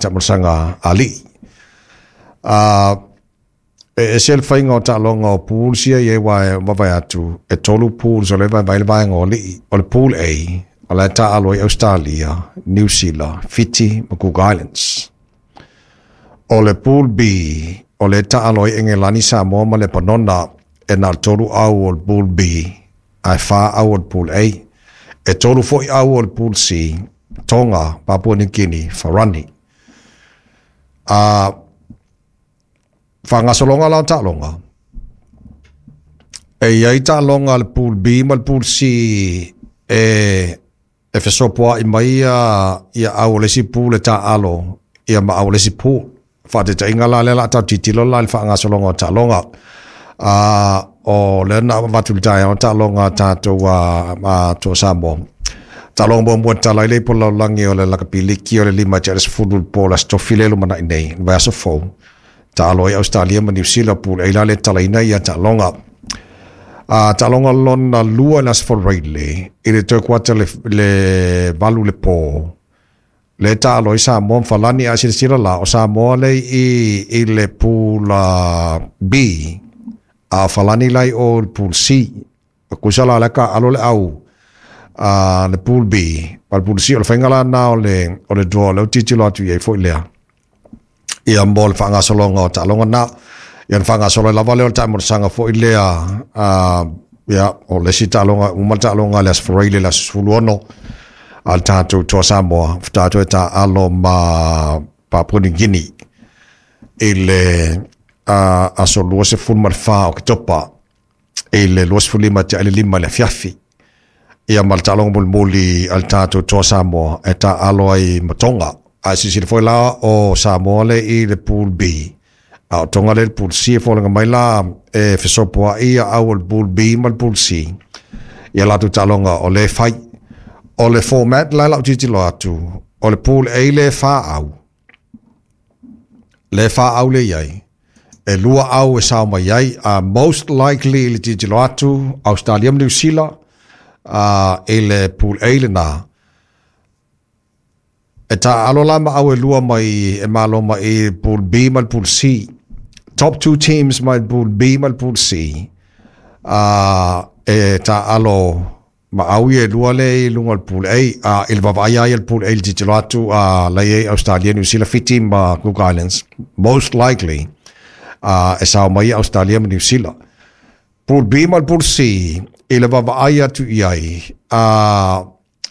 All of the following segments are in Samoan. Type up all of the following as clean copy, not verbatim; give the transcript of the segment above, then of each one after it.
taamolosaga a alii. E ese le faiga o taaloga o pools ia i ai, aua e vaavaai atu e tolu pools o lea e vaevae ai le vaega o alii. O le pool A, o la e taaalo ai Ausetalia, Niu Sila, Fiti ma Cook Islands. O le pool B, o lea e taaalo ai Engelani, Samoa ma Lepanona, e na o le tolu au o le pool B, ae fa au o le pool A. E tolu foi au o le pool C, Tonga, Papua New Guinea, Farani. A faagasologa la o taaloga, e i ai taaloga a le pool B ma le pool C e fesopoai mai ia au o le isi pool e taaalo ia ma au o le isi pool. Faataitaiga la lea o le a tatou tilotilo la i le faagasologa o taaloga. O lea na avatu i le taeao taaloga a tatou a Toa Samoa. Taaloga muamua e tatala ai le ipu o le lalolagi o le lakapi liki o le 9:50 i le po o le Aso Tofi lea e lumanai nei, le vaiaso fou. Taalo ai Ausetalia ma Niu Sila, pool A la lea e tatalaina ia taaloga. Taaloga lona lua i le Aso Faraile i le toe kuata le 8 le po, lea e taalo ai Samoa ma Falani. A silasila la, o Samoa lea i le pool B, a o Falani la i o i le pool C. Tusa la o lea ka alo le au le pool B ma le pool C. O le faiga la na o le draw lea ua tilotilo atu i ai foi lea ia mo le faagasologa o taaloga na. Ia na faagasolo ai lava lea o le taamolosaga foi lea ia o le isi taaloga uma le taaloga le Aso Faraile le aso 16 a le tatou Toa Samoa tatou e taaalo ma Papua New Guinea i le aso 24 o Oketopa i le 4:35 i le afiafi. Ia ma le taaloga mulimuli a le tatou Toa Samoa e taaalo ai ma Tonga. A silasila foi la, o Samoa le i le pool B, a o Tonga le i le pool C. E foliga mai la e fesopoai ia au o le pool B ma le pool C ia latou taaloga o le fai. O le format la lau tilotilo atu, o le pool A le fa au, le fa au le iai, e lua au e sao mai ai. Most likely i le tilotilo atu, Australia ma New Zealand i le pool A lena. E taaalo la ma au e lua mai e malo mai i pool B ma le pool C. Top two teams mai pool B ma le pool C. E taaalo ma au ia e lua le i luga o le pool A. I le vaavaai ai le pool A i le tilotilo atu, la i ai Australia, New Zealand, Fiti ma Cook Islands. Most likely e sao mai Australia ma New Zealand. Pool B ma le pool C, i le vaavaai atu i ai,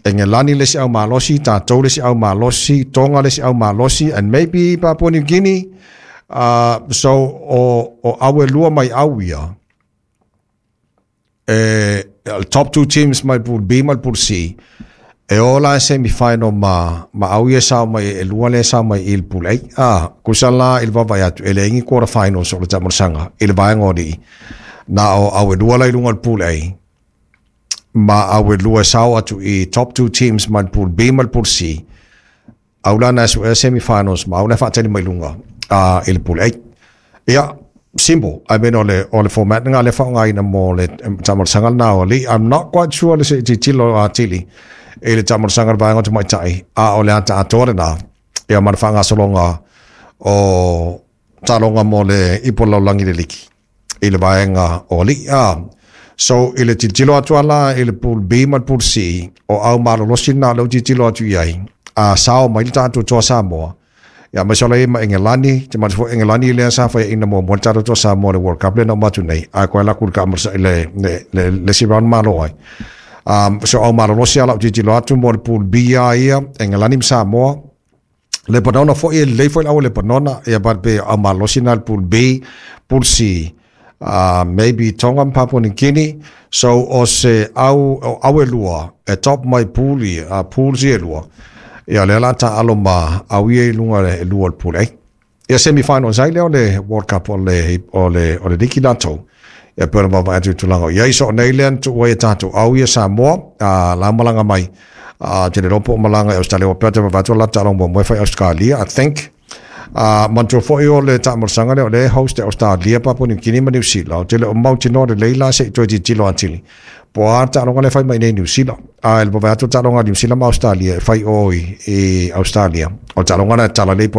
Engelani le isi au malosi, tatou le isi au malosi, Tonga le isi au malosi, and maybe Papua New Guinea. So o au e lua mai au ia, e, top two teams mai pool B ma le pool C, e o la semi-final ma au ia sao mai e lua le sao mai i le pool A. Ah, kusa la i le vaavaai atu, e leai ni quarter finals o le taamolosaga i le vaega o alii. Na o au e lua la i luga o le pool A, ma au e lua sao atu i top two teams mai le pool B ma le pool C. Au la na suea semi-finals ma au na faatali mai luga i le pool A. Ia, simple. I mean, o le format nga le whaongaina mo le taamolosaga na o alii. I'm not quite sure le se tilotilo atili i le taamolosaga le vaega o tamaitai, a o le ata atoa lena. Ia ma le faagasologa o taaloga mo le ipu o le lalolagi le liki i le vaega o alii. So i le tilotilo atu ala i le pool B ma le pool C, o au malolosi na leu tilotilo atu i ai, a sao mai le tatou Toa Samoa. Ia mai sola ma Engelani, te mata foi Engelani lea sa fai ina mo mo le tatou Toa Samoa le World Cup le na matu nei. A koe la kul ka le si round malo ai. So au malolosi ala tilotilo atu mo le pool B a ia, Engelani ma Samoa, Lebanona foi e lelei foi le au Lebanona ia but pe au malosi na le pool B, pool C. Maybe Tonga ma Papua New Guinea. So o se au o au e lua e top mai pool i pools i e lua. Ia lea la ta alo ma au ia i luga le lua o le pool A. Ia semi-finals ai lea o le World Cup o le liki latou. Ia pe ona vaavaai atu i tulaga o iai. So nei lea na tuua ai e tatou au ia Samoa la malaga mai. Te le ropo malaga i Australia o pea te vaavaai atu la taaloga muamua e fai Australia, I think. Manatua foi o le taamolosaga lea o lea e host e Australia, Papua New Guinea ma New Zealand. O te le o mautinoa lelei la se i toe tilotilo atili. Po a taaloga lea fai mai nei New Zealand. A le vaavaai atu taaloga a New Zealand ma Australia e fai o i Australia. O taaloga na e tala lei.